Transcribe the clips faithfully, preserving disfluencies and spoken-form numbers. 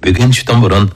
بۈگۈن چۈشتىن بۇرۇن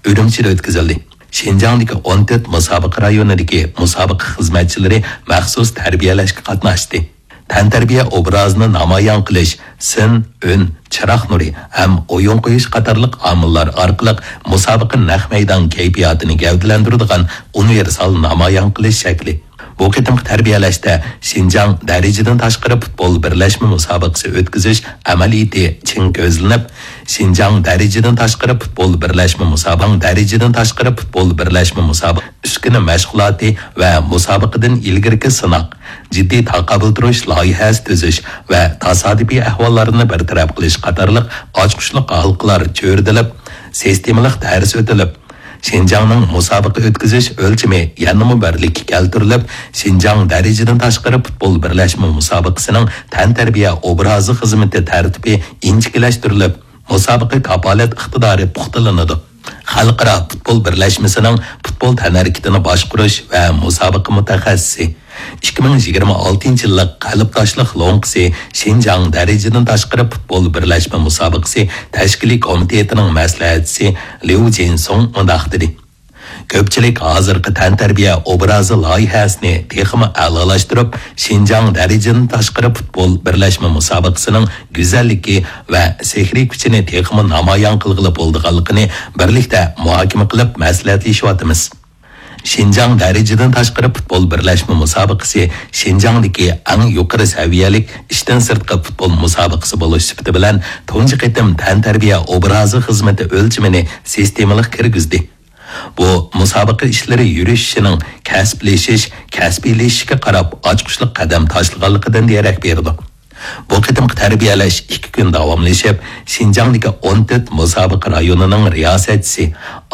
ئۈرۈمچىدە ئۆتكۈزۈلدى. شىنجاڭدىكى ئون تۆت مۇسابىقە رايونىدىكى مۇسابىقە خىزمەتچىلىرى مەخسۇس تەربىيەلەشكە قاتناشتى. تەنتەربىيە ئوبرازىنى نامايان قىلىش، سىن، ئۈن، چىراغ نۇرى ھەم ئويۇن قويۇش قاتارلىق ئامىللار ئارقىلىق مۇسابىقە نەق مەيدان كەيپىياتىنى گەۋدىلەندۈرىدىغان ئۇنىۋېرسال نامايان قىلىش شەكلى. بۇ قېتىمقى تەربىيەلەشتە شىنجاڭ دەرىجىدىن تاشقىرى پۇتبول بىرلەشمە مۇسابىقىسى ئۆتكۈزۈش ئەمەلىيىتى چىڭ كۆزلىنىپ، شىنجاڭ دەرىجىدىن تاشقىرى پۇتبول بىرلەشمە مۇسابىقە، دەرىجىدىن تاشقىرى پۇتبول بىرلەشمە مۇسابىقە ئۈسكۈنە مەشغۇلاتى ۋە مۇسابىقىدىن ئىلگىرىكى سىناق، جىددىي تاقابىل تۇرۇش لايىھەسى تۈزۈش ۋە تاسادىپىي ئەھۋاللارنى بىر تەرەپ قىلىش قاتارلىق ئاچقۇچلۇق ھالقىلار چۆرىدىلىپ، سىستېمىلىق دەرس ئۆتۈلۈپ، شىنجاڭنىڭ مۇسابىقە ئۆتكۈزۈش ئۆلچىمى يەنىمۇ بىرلىككە كەلتۈرۈلۈپ، شىنجاڭ دەرىجىدىن تاشقىرى پۇتبول بىرلەشمە مۇسابىقىسىنىڭ تەنتەربىيە ئوبرازى خىزمىتى تەرتىپى ئىنچىكىلەشتۈرۈلۈپ، مۇسابىقە كاپالەت ئىقتىدارى پۇختىلىنىدۇ. خەلقئارا پۇتبول بىرلەشمىسىنىڭ پۇتبول تەنھەرىكىتىنى باشقۇرۇش ۋە مۇسابىقە مۇتەخەسسىسى، ئىككى مىڭ يىگىرمە ئالتىنچى يىللىق قەلبداشلىق لوڭقىسى شىنجاڭ دەرىجىدىن تاشقىرى پۇتبول بىرلەشمە مۇسابىقىسى تەشكىلىي كومىتېتىنىڭ مەسلىھەتچىسى ليۇ جىنسۇڭ مۇنداق دېدى: كۆپچىلىك ھازىرقى تەنتەربىيە ئوبرازى لايىھەسىنى تېخىمۇ ئەلالاشتۇرۇپ، شىنجاڭ دەرىجىدىن تاشقىرى پۇتبول بىرلەشمە مۇسابىقىسىنىڭ گۈزەللىكى ۋە سېھرىي كۈچىنى تېخىمۇ نامايان قىلغىلى بولىدىغانلىقىنى بىرلىكتە مۇھاكىمە قىلىپ مەسلىھەتلىشىۋاتىمىز. شىنجاڭ دەرىجىدىن تاشقىرى پۇتبول بىرلەشمە مۇسابىقىسى شىنجاڭدىكى ئەڭ يۇقىرى سەۋىيەلىك ئىشتىن سىرتقى پۇتبول مۇسابىقىسى بولۇش سۈپىتى بىلەن تۇنجى قېتىم تەنتەربىيە ئوبرازى خىزمىتى ئۆلچىمىنى سىستېمىلىق كىرگۈزدى. بۇ مۇسابىقە ئىشلىرى يۈرۈشۈشىنىڭ كەسىپلىشىش، كەسپىيلىشىشكە قاراپ ئاچقۇچلۇق قەدەم تاشلىغانلىقىدىن دېرەك بېرىدۇ. بۇ قېتىمقى تەربىيەلەش ئىككى كۈن داۋاملىشىپ، شىنجاڭدىكى ئون تۆت مۇسابىقە رايونىنىڭ رىياسەتچىسى،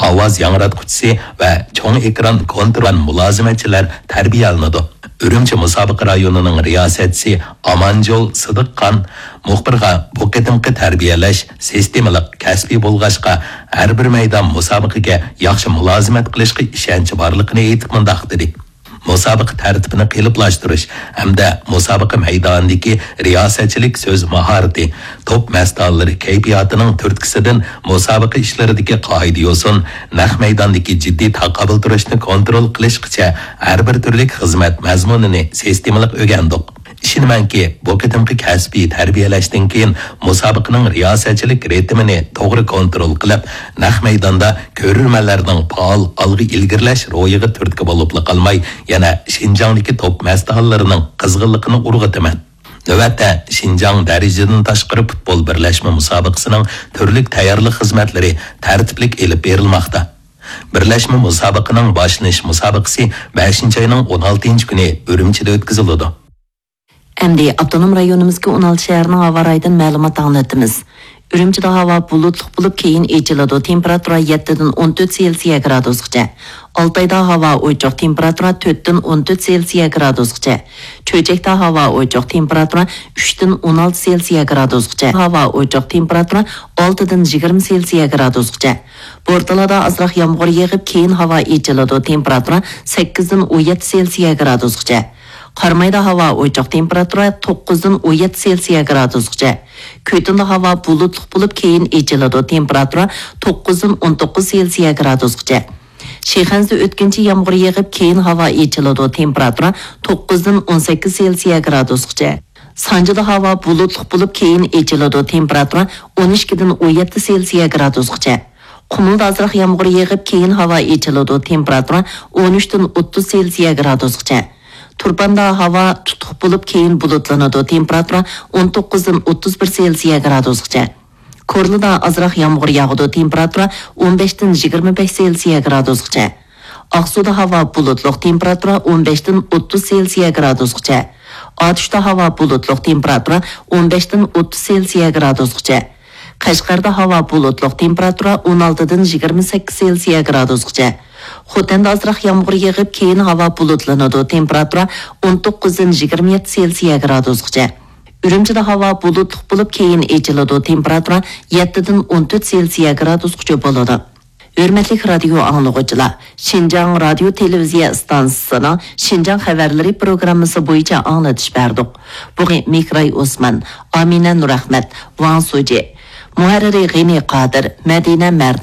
ئاۋاز ياڭراتقۇچىسى ۋە چوڭ ئېكران كونترول مۇلازىمەتچىلەر تەربىيەلىنىدۇ. ئۈرۈمچى مۇسابىقە رايونىنىڭ رىياسەتچىسى ئامانجول سىدىقخان مۇخبىرغا بۇ قېتىمقى تەربىيەلەش سىستېمىلىق، كەسپىي بولغاچقا، ھەر بىر مەيدان مۇسابىقىگە ياخشى مۇلازىمەت قىلىشقا ئىشەنچ بارلىقىنى ئېيتىپ مۇنداق دېدى: مۇسابىقە تەرتىپىنى قېلىپلاشتۇرۇش ھەمدە مۇسابىقە مەيدانىدىكى رىياسەتچىلىك سۆز ماھارىتى، توپ مەستانىلىرى كەيپىياتىنىڭ تۈرتكىسىدىن مۇسابىقە ئىشلىرىدىكى قائىدە-يوسۇن، نەق مەيداندىكى جىددىي تاقابىل تۇرۇشنى كونترول قىلىشقىچە ھەر بىر تۈرلۈك خىزمەت مەزمۇنىنى سىستېمىلىق ئۆگەندۇق. ئىشىنىمەنكى، بۇ قېتىمقى كەسپىي تەربىيەلەشتىن كېيىن مۇسابىقىنىڭ رىياسەتچىلىك رىتىمىنى توغرا كونترول قىلىپ، نەق مەيداندا كۆرۈرمەنلەرنىڭ پائال ئالغا ئىلگىرىلەش روھىغا تۈرتكە بولۇپلا قالماي، يەنە شىنجاڭدىكى توپ مەستانىلىرىنىڭ قىزغىنلىقىنى ئۇرغۇتىمەن. نۆۋەتتە شىنجاڭ دەرىجىدىن تاشقىرى پۇتبول بىرلەشمە مۇسابىقىسىنىڭ تۈرلۈك تەييارلىق خىزمەتلىرى تەرتىپلىك ئېلىپ بېرىلماقتا. بىرلەشمە مۇسابىقىنىڭ باشلىنىش مۇسابىقىسى بەشىنچى ئاينىڭ ئون ئالتىنچى كۈنى ئۈرۈمچىدە ئۆتكۈزۈلىدۇ. ئەمدى ئاپتونوم رايونىمىزدىكى ئون ئالتە شەھەرنىڭ ھاۋا رايىدىن مەلۇمات ئاڭلىتىمىز. ئۈرۈمچىدە ھاۋا بۇلۇتلۇق بولۇپ، كېيىن ئېچىلىدۇ. تېمپېراتۇرا يەتتىدىن ئون تۆت سېلسىيە گرادۇسقىچە. ئالتايدا ھاۋا ئوچۇق، تېمپېراتۇرا تۆتتىن ئون تۆت سېلسىيە گرادۇسقىچە. چۆچەكتە ھاۋا ئوچۇق، تېمپېراتۇرا ئۈچتىن ئون ئالتە سېلسىيە گرادۇسقىچە. ھاۋا ئوچۇق، تېمپېراتۇرا ئالتىدىن يىگىرمە سېلسىيە گرادۇسقىچە. بورتالادا ئازراق يامغۇر يېغىپ، كېيىن ھاۋا ئېچىلىدۇ، تېمپېراتۇرا سەككىزدىن ئون يەتتە سېلسىيە گرادۇسقىچە. قارامايدا ھاۋا ئوچۇق، تېمپېراتۇرا توققۇزدىن ئون يەتتە سېلسىيە گرادۇسقىچە. كۈتۈندە ھاۋا بۇلۇتلۇق بولۇپ، كېيىن ئېچىلىدۇ، تېمپېراتۇرا توققۇزدىن ئون توققۇز سېلسىيە گرادۇسقىچە. شىخەنزە ئۆتكۈنچى يامغۇر يېغىپ، كېيىن ھاۋا ئېچىلىدۇ، تېمپېراتۇرا توققۇزدىن ئون سەككىز سېلسىيە گرادۇسقىچە. سانجىدا ھاۋا بۇلۇتلۇق بولۇپ، كېيىن ئېچىلىدۇ، تېمپېراتۇرا ئون ئىككىدىن ئون يەتتە سېلسىيە گرادۇسقىچە. قۇمۇلدا ئازراق يامغۇر يېغىپ، كېيىن ھاۋا ئېچىلىدۇ، تېمپېراتۇرا ئون ئۈچتىن ئوتتۇز سېلسىيە گرادۇسقىچە. تۇرپاندا ھاۋا تۇتۇق بولۇپ، كېيىن بۇلۇتلىنىدۇ، تېمپېراتۇرا ئون توققۇزدىن ئوتتۇز بىر سېلسىيە گرادۇسقىچە. كورلىدا ئازراق يامغۇر ياغىدۇ، تېمپېراتۇرا ئون بەشتىن يىگىرمە بەش سېلسىيە گرادۇسقىچە. ئاقسۇدا ھاۋا بۇلۇتلۇق، تېمپېراتۇرا ئون بەشتىن ئوتتۇز سېلسىيە گرادۇسقىچە. ئاتۇشتا ھاۋا بۇلۇتلۇق، تېمپېراتۇرا ئون بەشتىن ئوتتۇز سېلسىيە گرادۇسقىچە. قەشقەردە ھاۋا بۇلۇتلۇق، تېمپېراتۇرا ئون ئالتىدىن يىگىرمە سەككىز سېلسىيە گرادۇسقىچە. خوتەندە ئازراق يامغۇر يېغىپ، كېيىن ھاۋا بۇلۇتلىنىدۇ، تېمپېراتۇرا ئون توققۇزدىن يىگىرمە يەتتە سېلسىيە گرادۇسقىچە. ئۈرۈمچىدە ھاۋا بۇلۇتلۇق بولۇپ، كېيىن ئېچىلىدۇ، تېمپېراتۇرا يەتتىدىن ئون تۆت سېلسىيە گرادۇسقىچە بولىدۇ. ھۆرمەتلىك رادىيو ئاڭلىغۇچىلار، شىنجاڭ رادىيو تېلېۋىزىيە ئىستانسىسىنىڭ شىنجاڭ خەۋەرلىرى پروگراممىسى بويىچە ئاڭلىتىش بەردۇق. بۇغى مىكراي ئوسمان، ئامىنە نۇرئەخمەت، ۋاڭ سۇجى، مۇھەررىرى غېنى قادىر، مەدىنە مەردان.